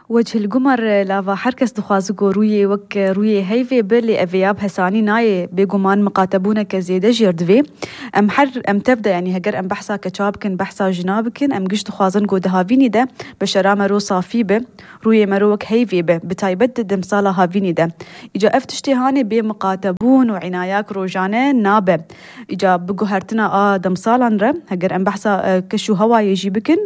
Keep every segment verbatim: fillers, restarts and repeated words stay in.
وجه القمر لافا حركس دخوازقو روي وك روي هيفي بلي افياب هساني ناي بيقومان مقاتبونا كزيدة جيردفي ام حر ام تبدا يعني هجر ام بحثا كتشابكن بحثا جنابكن ام قش دخوازن قو دهافيني ده بشرا مرو صافي به روي مروك هيفي به بتايبت دمصالا هافيني ده اجا افتشتي هاني بمقاتبون وعناياك روجانه نابه اجا بقو هرتنا اه دمصالا نرى هجر ام بحثا كشو هوا يجيبكن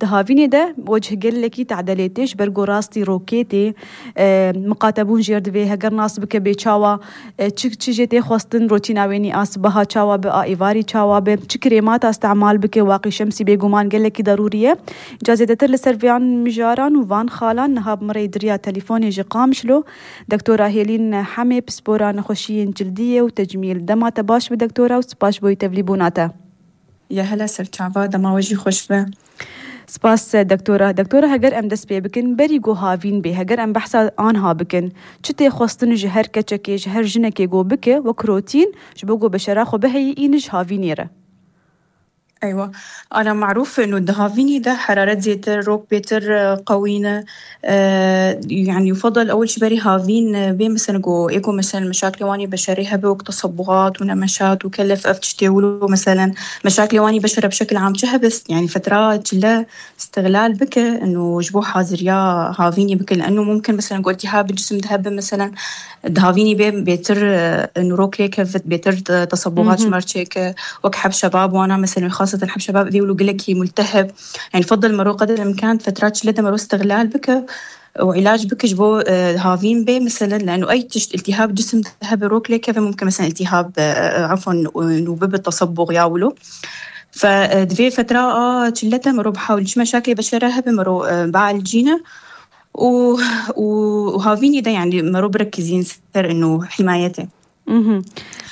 دهافيني ده وجه قل لكي تعدليتش برقو راستي روكيتي اه مقاتبون جيردوي هقر ناس بك بيچاوا چك چجيتي خوستن روتينا ويني آسبها چاوا بآ ايواري چاوا ب چك كريمات استعمال بك واقي شمسي بيقومان قل لكي ضرورية جازيدتر لسرفيان مجاران وفان خالان نهاب مري دريا تليفوني جي قامشلو دكتورة هيلين حمي بسبورا نخوشيين جلدية وتجميل دما تباش بدكتورة وسباش بوي تفليبوناتا يا هلا سرچاوا دما وجي خوش به سپاس دکتورا دکتورا هگر ام دست پی بکن بری گو هاوین بی هگر ام بحثا آنها بکن چته خواستن جهر کچکی جهر جنکی گو بکه و کروتین جبو گو بشرا خو بهی اینج هاوینیره. أيوة أنا معروف إنه الدهافيني ده حرارة زيتر روك بيتر قوينة آه يعني يفضل أول شي بري هافين بين مثلا جو إيكو مثلا مشاكل واني بشريها بوقت تصبغات ونمشات وكلف أفتشتي ولو مثلا مشاكل واني بشرة بشكل عام شهبس يعني فترات لا استغلال بك إنه جبو حاضر يا هافيني بك لأنه ممكن مثلا جو التهاب الجسم ذهب مثلا الدهافيني بين بيتر إنه روك ليك بيتر تصبغات شمرتشيك وكحب شباب وانا مثلا خاصة حب شباب ذي ولو قلكي ملتهب يعني فضل مرو قدر الإمكان فترات شلته مرو استغلال بك وعلاج بك جبو هافين بي مثلا لأنه أي تشت التهاب جسم ذهب روك لك فممكن مثلا التهاب عفوا نوبب التصبغ ياولو فدفي فترة آه شلته مرو بحاول مشاكل بشرها بمرو بعالجينا و وهافيني ده يعني مرو بركزين ستر إنه حمايته. اها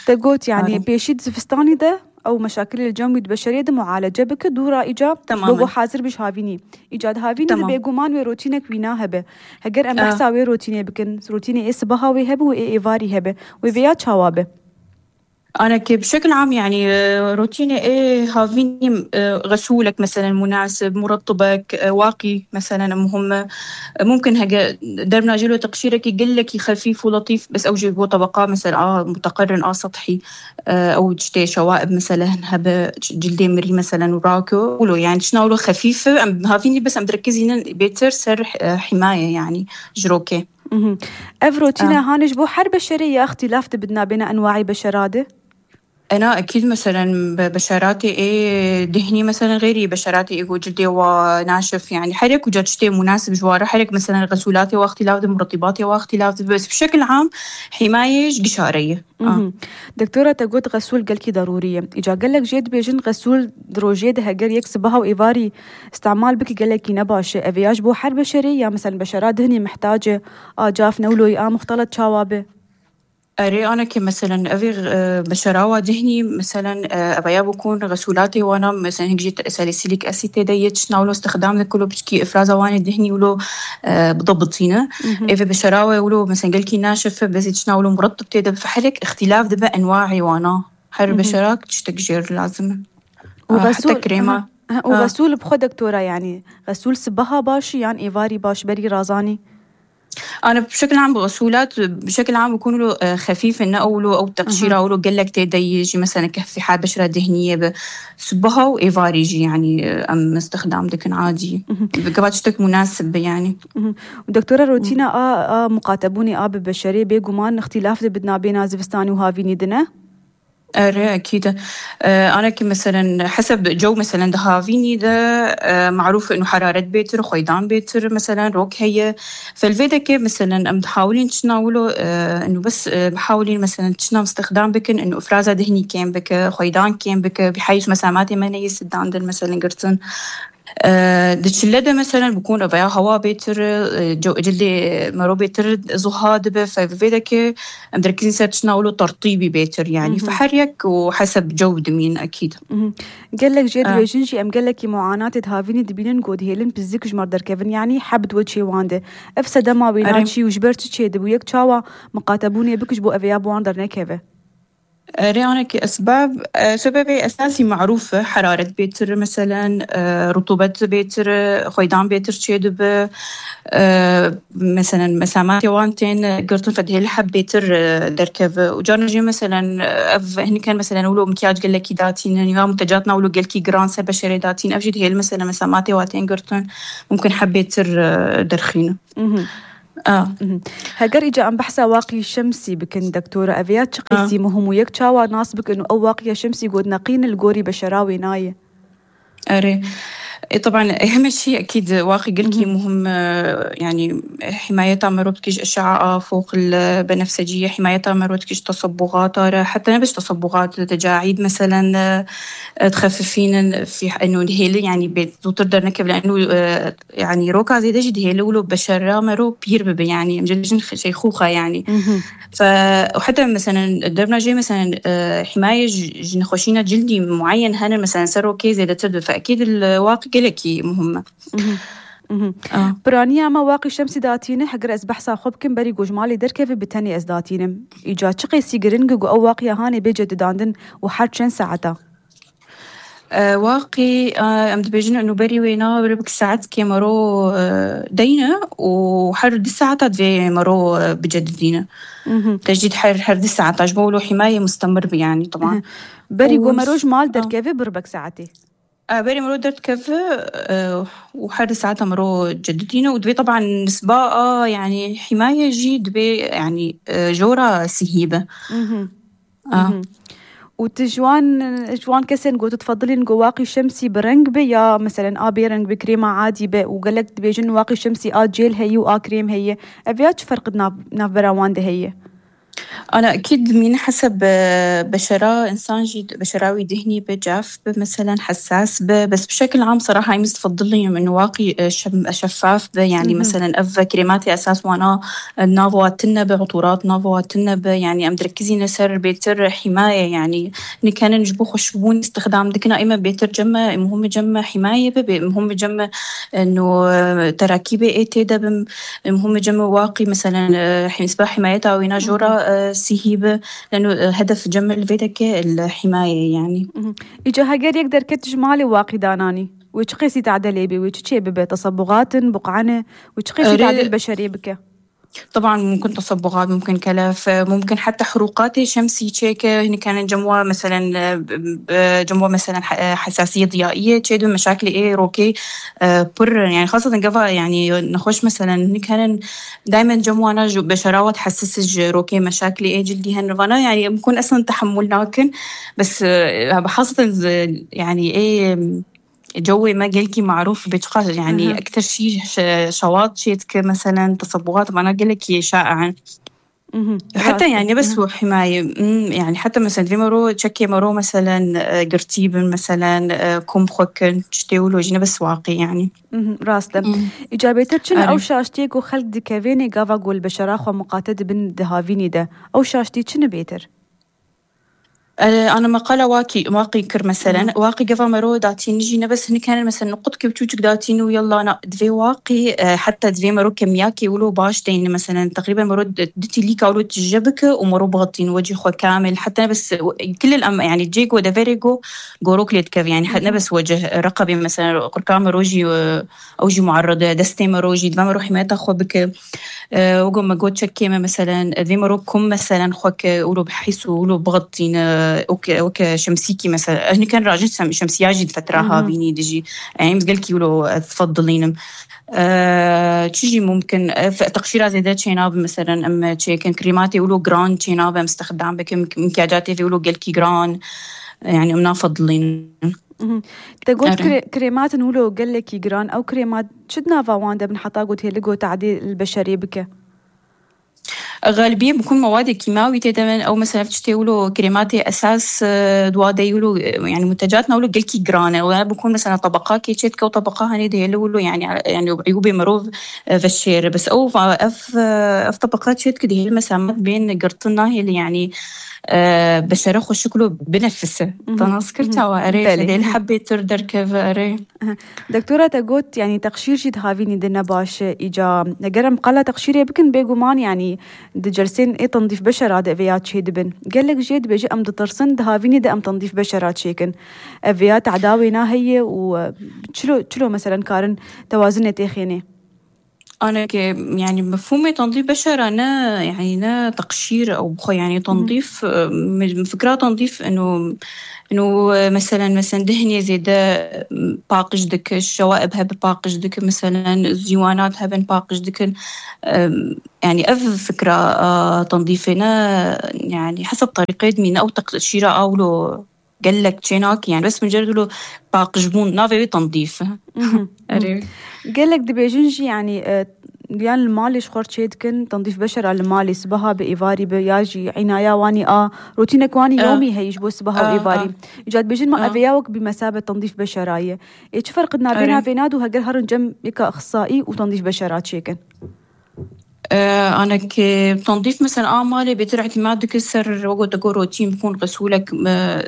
تقولت يعني بيشيد زفستاني ده أو مشاكل الجو البشرية ده معالجة بك دورا إيجاب بقو حاضر بش هافيني إيجاد هافيني ده بيقومان وروتينك وينها به هجر أم بحثا وي روتيني بكن روتيني إس بها وي هبه وإي إيفاري هبه وبيات شوابه أنا كي بشكل عام يعني روتيني إيه هافيني غسولك مثلا مناسب مرطبك واقي مثلا مهم ممكن هجا درنا جلو تقشيرك يقول لك خفيف ولطيف بس أوجي بو طبقة مثلا آه متقرن آه سطحي أو جتي شوائب مثلا هبا جلدي مري مثلا وراكو ولو يعني شناولو خفيفة هافيني بس أم تركزين بيتر سر حماية يعني جروكي أف روتينا آه. هانش بو حر بشرية اختلاف بدنا بين أنواع بشرادة أنا أكيد مثلا بشراتي إيه دهني مثلا غيري بشراتي إيه جلدي وناشف يعني حرك وجدتي مناسب جواره حرك مثلا غسولاتي واختلاف مرطباتي واختلاف بس بشكل عام حماية قشارية. آه. دكتورة تقول غسول قلكي ضرورية إجا قال لك جيد بيجن غسول دروجيد هجر يكسبها وإيفاري استعمال بك قال لك نباش أفياج بو حر بشرية مثلا بشرات دهني محتاجة آه جاف نولوي آه مختلط شوابه أري أنا كمثلا أبي بشراوة دهني مثلا أبيا بكون غسولاتي وأنا مثلا هيك جيت ساليسيليك أسيد ديتش ناولو استخدام ذكله بشكي إفرازة واني دهني ولو بضبطينه إذا بشراوة ولو مثلا قلكي ناشف بس يتشناولو مرطب تيدا فحرك اختلاف دبا أنواعي وأنا حر بشراك تشتكجير لازم وغسول حتى كريمة أه. وغسول بخو دكتورة يعني غسول سبها باشي يعني إيفاري باش بري رازاني أنا بشكل عام بغسولات بشكل عام بكون له خفيف إنه أولو أو تقشيرة أولو قال لك تيدا يجي مثلا كفي حال بشرة دهنية بسبها وإيفار يجي يعني أم استخدام دكن عادي بقبات شتك مناسب يعني. ودكتورة روتينا آه آه مقاتبوني آه ببشرية بيقومان اختلاف بدنا بين زفستاني وهافيني دنا أرى أكيد أنا كمثلا حسب جو مثلا دهافيني ده معروف إنه حرارة بيتر خيدان بيتر مثلا روك هي فالفيدا كيف مثلا أم تحاولين تشناولو إنه بس بحاولين مثلا تشنام استخدام بكن إنه إفرازة دهني كين بك خيدان كين بك بحيث مساماتي ما نيسد عندن مثلا قرصن دشلده مثلا بكون أبيا هوا بيتر جو جلدي مرو بيتر زهاد به ففيدا كي أمدركين سرتشنا ولو ترطيبي بيتر يعني فحريك وحسب جودة مين أكيد. قال لك جد بيجنجي أم قال لك معاناة تهافيني دبينن قود هيلن بزيك جمر در كيفن يعني حبد وجهي وانده أفسد ما بيناتشي وجبرت شيء دبويك شاوا مقاتبوني بكش بو أبيا بواندر نكيفه. أري أنا كأسباب سبب أساسي معروفة حرارة بيتر مثلا، رطوبة بيتر، خويدان بيتر تشيدب مثلا مسامات يوانتين قرطن فده الحب بيتر دركب وجارنجي مثلا أف هني كان مثلا ولو مكياج قال لك داتين يعني منتجاتنا ولو قال كي جران سبب بشري داتين أفجد هي مثلا مسامات يوانتين قرطن ممكن حبيتر درخينه. آه هاجر إجا أم بحثا واقي شمسي بكن دكتورة أفيات شقيسي آه. مهم ويك شاوا ناس بك إنه أو واقي شمسي قد نقين الجوري بشراوي ناية. أري طبعا أهم شيء أكيد واقي قلكي مهم يعني حمايتها مروتكش أشعة فوق البنفسجية، حمايتها مروتكش تصبغات حتى نبش تصبغات تجاعيد مثلا تخففين في إنه الهيل يعني بتقدر نكب لأنه يعني روكا زي ده جد هيل ولو بشرة مرو بيربب يعني مجرد شيخوخة يعني ف وحتى مثلا دربنا جاي مثلا حماية جنخوشينة جلدي معين هنا مثلا سرو كيزي لترد فأكيد الواقي قلكي مهمة. آه. برانيا ما واقي شمسي داتينه حقر أز بحثا خوبكم بري جوجمالي دركف بتاني أز داتينم إيجاد شقي سيجرينجو أو واقي هاني بيجد داندن وحد شن ساعتا. أه واقي أه أمد بيجن إنه بري وينا بربك ساعات كي مرو أه دينا وحر دي ساعات في مرو أه بجد دينا تجديد حر حر دي ساعات عجبوا حماية مستمر يعني طبعا. بري جو مروج مال دركف بربك ساعتي. آه بري مرو درت كف آه وحر ساعتها مرو جددينه ودبي طبعا نسبة يعني حماية جي دبي يعني آه جورة سهيبة. آه. وتجوان جوان كسن قو تفضلين قو واقي شمسي برنج بي يا مثلا آ بيرنج بكريمة عادي بي وقالك تبيجن واقي شمسي آ جيل هي وآ كريم هي أبيات فرق ناف ناف براوان ده هي. أنا أكيد من حسب بشرة إنسان جيد بشراوي دهني بجاف مثلا حساس بس بشكل عام صراحة يمز تفضلي من واقي شفاف يعني مثلا أف كريماتي أساس وانا نافواتنا بعطورات نافواتنا يعني أم تركزي نسر بيتر حماية يعني إن كان نجبو خشبون استخدام دكنا إما بيتر جمع مهم جمع حماية ببي مهم جمع إنه تراكيبة إيه تدا مهم جمع واقي مثلا حسب حمايتها وينا جورا سهيبة لأنه هدف جمع الفيدك الحماية يعني. إجا هاجر يقدر كتجمالي واقي داناني ويشقيسي تعدلي بي ويشقي ببي تصبغات بقعنة ويشقيسي تعدل بشري بك. طبعا ممكن تصبغات ممكن كلف ممكن حتى حروقات شمسي تشيك هني كان جموع مثلا جموع مثلا حساسية ضيائية تشيدو مشاكل ايه روكي بر يعني خاصة قفا يعني نخش مثلا هني كان دايما جموعنا بشراوة تحسس روكي مشاكل ايه جلدي هنرفانا يعني ممكن اصلا تحمل لكن بس خاصة يعني ايه جوي ما قلكي معروف بتقال يعني أه. أكثر شيء شواط شيتك مثلا تصبغات ما أنا قلكي شائعا حتى يعني بس هو حماية يعني حتى مثلا في مرو تشكي مرو مثلا قرتيب مثلا كم خوكن تشتيولو جينا بس واقي يعني راسته إجابتك شن أو شاشتيك وخلق دكافيني قافا قول بشراخ ومقاتد بن دهافيني ده أو شاشتي شن بيتر أنا مقالة واقي واقي كر مثلا واقي قفا مرو داتين جينا بس هني كان مثلا نقط كبتوجك داتين ويلا أنا دفي واقي حتى دفي مرو كمياكي ولو باش تين مثلا تقريبا مرو دتي ليكا ولو تجبك ومرو بغطين وجه خو كامل حتى بس كل الأم يعني جيجو دافيريجو جوروك ليتكف يعني حتى بس وجه رقبي مثلا قرقام روجي أوجي معرضة دستي مروجي دفا مرو حمايتها خو بك وقوم ما قوت شكيمة مثلا ذي مروكم مثلا خوك ولو بحيس ولو بغطين اوكي اوكي شمسيكي مثلا هني كان راجل شمسية جد فترة بيني دجي يعني مسقلكي ولو تفضلين أه تيجي ممكن تقشيرة زي ده تشيناب مثلا أما تشي كان كريماتي ولو جران تشيناب مستخدم بك مكياجاتي في ولو قلكي جران يعني أمنا فضلين تقول كري... كريمات نقوله قال لك يجران أو كريمات شدنا فواندا بنحطها قلت هي لقوا تعديل البشري بك غالبية بكون مواد كيماوي تماما أو مثلا تشتيولو كريمات أساس دوادة يولو يعني منتجاتنا ولو قلكي جرانة ولا بكون مثلا طبقة كي تشتك وطبقة هني ده يولو يعني يعني عيوبي مروف في الشير بس أو أف أف طبقات شتك ده المسامات بين قرطنا هي اللي يعني أه بشرة خشكله بنفسه تناسكرتها وأري فدي الحبة تردر كيف أري دكتورة تقول يعني تقشير جد هافيني دنا باش إجا نجرم قلا تقشيري بكن بيجومان يعني دي جلسين إيه تنظيف بشرة دا فيات شي دبن قال لك جيد بيجي أم دترسن دهافيني دا أم تنظيف بشرة شيكن فيات عداوينا هي وشلو شلو مثلا كارن توازن تيخيني أنا ك يعني مفهومي تنظيف بشرة أنا يعني أنا تقشير أو بخو يعني تنظيف فكرة تنظيف إنه إنه مثلا مثلا دهنية زي ده باقش دك الشوائب هب باقش دك مثلا الزيوانات هبن باقش دك يعني أف فكرة تنظيفنا يعني حسب طريقة مين أو تقشيرة أو لو قال لك تشيناك يعني بس مجرد له باقشبون نافي تنظيف قال لك دبيجنجي يعني يعني المالي شخور تشيدكن تنظيف بشرة المالي سبها بإيفاري بياجي عناية واني آه روتينك واني آه. يومي هيش بو سبها آه وإيفاري آه. جاد بيجن ما آه. أفياوك بمثابة تنظيف بشراية إيش فرق بينها بينادو هجر هرن جم يكا أخصائي وتنظيف بشرات شيكن آه أنا كتنظيف مثلا آه مالي بيتر اعتماد كسر وقت أقول روتين بكون غسولك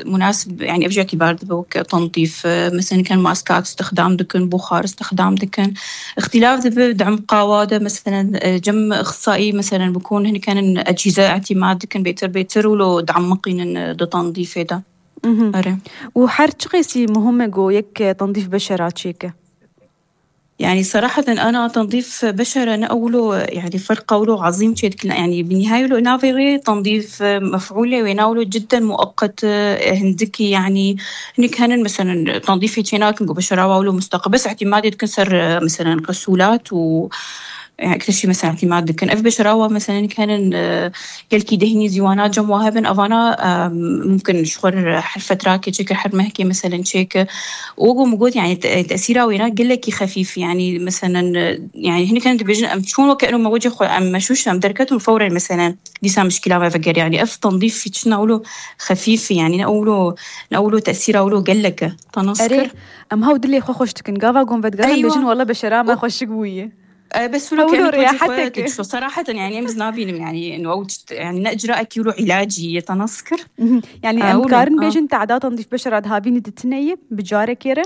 مناسب يعني أفجع اعتبار دبوك تنظيف آه مثلا كان ماسكات استخدام دكن بخار استخدام دكن اختلاف دب دعم قوادة مثلا جم أخصائي مثلا بكون هنا كان أجهزة اعتماد دكن بيتر بيتر ولو دعم مقين ده تنظيف ده أره وحرج قيسي مهمة جو يك تنظيف بشرات شيكة يعني صراحة أنا تنظيف بشرة أنا أقوله يعني فرق قوله عظيم شيء يعني بالنهاية له نافغي تنظيف مفعولة ويناوله جدا مؤقت هندكي يعني هني كان مثلا تنظيف هناك بشرة وله مستقبل بس اعتمادي تكسر مثلا غسولات و يعني أكثر شيء مثلا اعتماد كان أف بشراوة مثلا كان كالكي دهني زيوانات جمواها بن أفانا ممكن شخور حرفة راكي شكل حر مهكي مثلا شيك وقو موجود يعني تأثيره وينات قل لك خفيف يعني مثلا يعني هني كانت بيجن أم تشون وكأنه موجود خو أم مشوش أم دركته فورا مثلا دي سام مشكلة ما فكر يعني أف تنظيف في تشنا أقوله خفيف يعني نقوله نقوله تأثيره أقوله قل لك تنسكر أم هاو دلي خو خوشتكن قافا قوم فتقال أيوة. بيجن والله بشرا ما خوش قوية بس ولو كانت رياحتك شو صراحة يعني أمز نابين يعني إنه أوجت يعني نأجرأ كيلو علاجي يتنسكر يعني آه أم كارن بيجن تعداد تنظيف بشرة هابين تتنية بجارة كيرة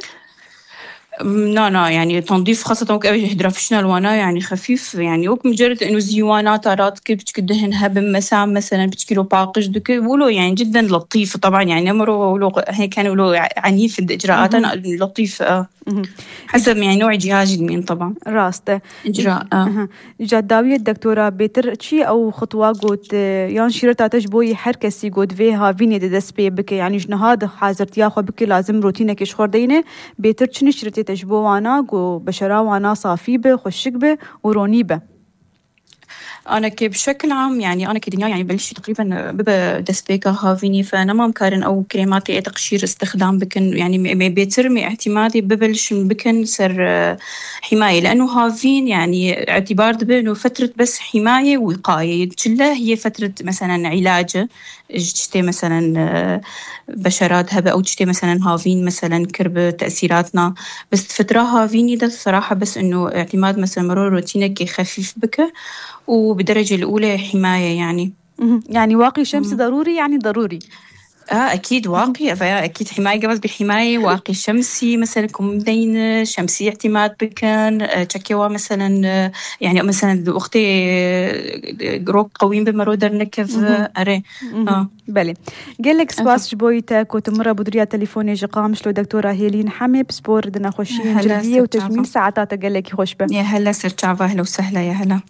لا لا يعني تنظيف خاصة وكأي هيدرافيشنال وانا يعني خفيف يعني وك مجرد إنه زيوانات أراد كيف بتكدهن هب مسام مثلا بتكيلو باقش دك ولو يعني جدا لطيف طبعا يعني أمره ولو هيك كانوا ولو عنيف الإجراءات لطيف آه. حسب يعني نوع جهاز مين طبعا راسته إجراء آه. جداوية الدكتورة بيتر شيء أو خطوة قد يعني شيرتا تجبوي حركسي قد فيها فيني ددس بي بك يعني جنهاد حازرت ياخو بك لازم روتينك يشخور دينه بيتر شنو شرتي تجبو وانا قو بشرا وانا صافي به خشك به وروني به أنا كي بشكل عام يعني أنا كدنيا يعني بلش تقريبا ببا دسبيكا هافيني فأنا ما مكارن أو كريماتي أي تقشير استخدام بكن يعني بيترمي اعتمادي ببلش بكن سر حماية لأنه هافين يعني اعتبار بأنه فترة بس حماية وقاية كلها هي فترة مثلا علاج جتي مثلا بشرات هبة أو جتي مثلا هافين مثلا كرب تأثيراتنا بس فترة هافيني ده الصراحة بس إنه اعتماد مثلا مرور روتينك خفيف بك وبدرجة الأولى حماية يعني يعني واقي شمس ضروري يعني ضروري آه أكيد واقي أكيد حماية قبل بحماية واقي شمسي مثلا كمدين شمسي اعتماد بكن تشكيوا مثلا يعني مثلا أختي روك قويم بمرودر نكف أري آه بلي قال لك سباس جبويتك وتمر بدريا تليفوني جقام شلو دكتورة هيلين حمي بسبور دنا خوشين جلدية وتجميل ساعاتها قال لك خوش به يا هلا سرتشافا أهلا وسهلا يا هلا